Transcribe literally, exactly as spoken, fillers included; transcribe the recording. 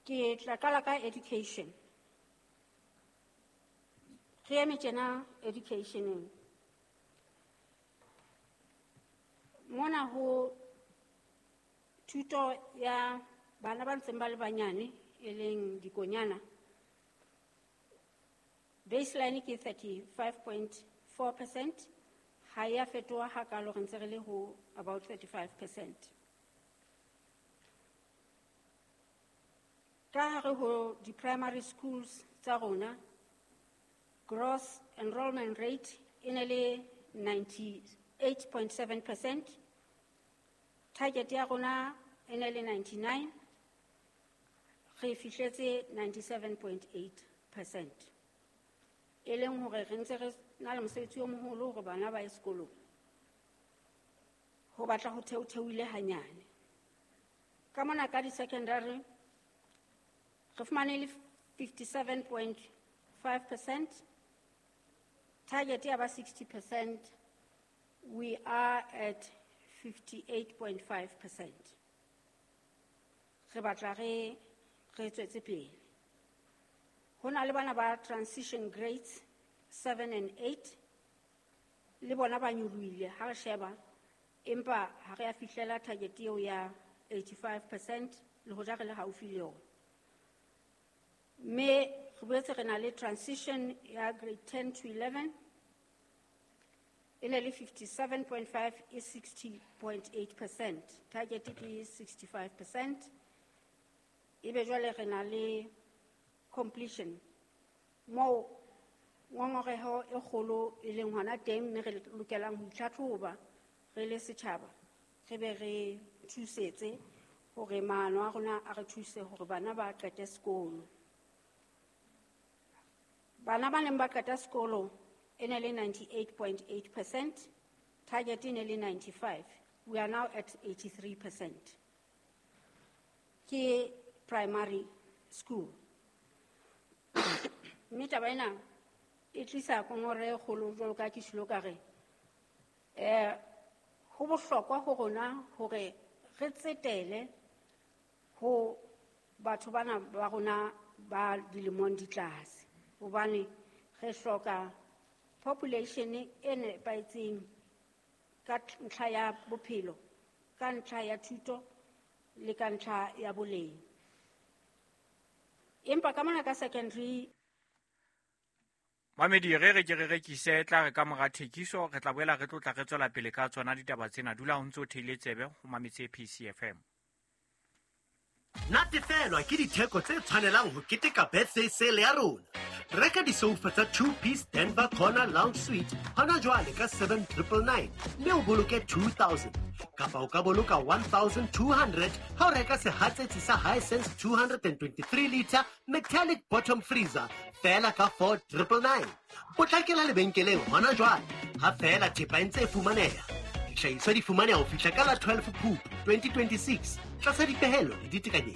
Ke tla qala ka education. Re eme tjena educationeng. Mona ho thuto ya bana ba ntseng ba le banyane e leng dikonyana. Baseline ke thirty-five point four percent. Ha ya fetoha hakalo, re ntse re le ho about thirty-five percent. Ka hare ho di-primary schools tsa rona, gross enrollment rate e ne le ninety-eight point seven percent. Target ya rona e ne le ninety-nine. Re fihletse ninety-seven point eight percent. E leng hore re ntse re na le mosebetsi o moholo hore bana ba ye sekolong. Ho batla ho theotheoile hanyane. Ka mona ka di-secondary, re fumane le fifty-seven point five percent. Target ya ba sixty percent. We are at fifty-eight point five percent. Re batla re, re tswetse pele. Ho na le bana ba transition grades seven and eight, le bona ba nyolohile ha re sheba, empa ha re a fihlela target eo ya eighty-five percent, le hoja re le haufi le yona. Mme re boetse re na le transition ya grade ten to eleven, e ne le fifty-seven point five e sixty point eight percent. Target ke sixty-five percent. Ebe jwale re na le completion moo ngongoreho e kgolo e leng hona teng, mme re lokelang ho itlhatlhoba re le setjhaba, re be re thusetse hore maano a rona a re thuse hore bana ba qete sekolo. Bana ba neng ba qeta sekolo e ne le ninety-eight point eight percent, target e ne le ninety-five. We are now at eighty-three percent. Ke primary school. Mme taba ena e tlisa kongore e kgolo jwalo ka ke tjholo ka re, eh, ho bohlokwa ho rona hore re tsetele ho batho bana ba rona ba dilemong di tlase, hobane re hloka population e nepahetseng ka ntlha ya bophelo, ka ntlha ya thuto le ka ntlha ya boleng. Empa ka mona ka secondary. Mamedi, re re ke re rekise, tla re ka mora thekiso, re tla boela re tlotla re tswela pele ka tsona ditaba tsena. Dula o ntse o theile tsebe ho mametse P C F M. Natefelwa ke ditheko tse tshwanelang ho keteka birthday sale ya rona. Reka disofa tsa two-piece Denver Corner Lounge Suite hona jwale ka seven triple nine mme o boloke two thousand. Kapa o ka boloka one thousand two hundred ha o reka sehatsetsi sa Hisense two hundred and twenty-three liter metallic bottom freezer feela ka four triple nine. Potlakela lebenkeleng hona jwale ha feela thepa e ntse e fumaneha. Dihlahiswa di fumaneha ho fihla ka la twelve Phupu twenty twenty-six tlasa dipehelo le ditekanyetso.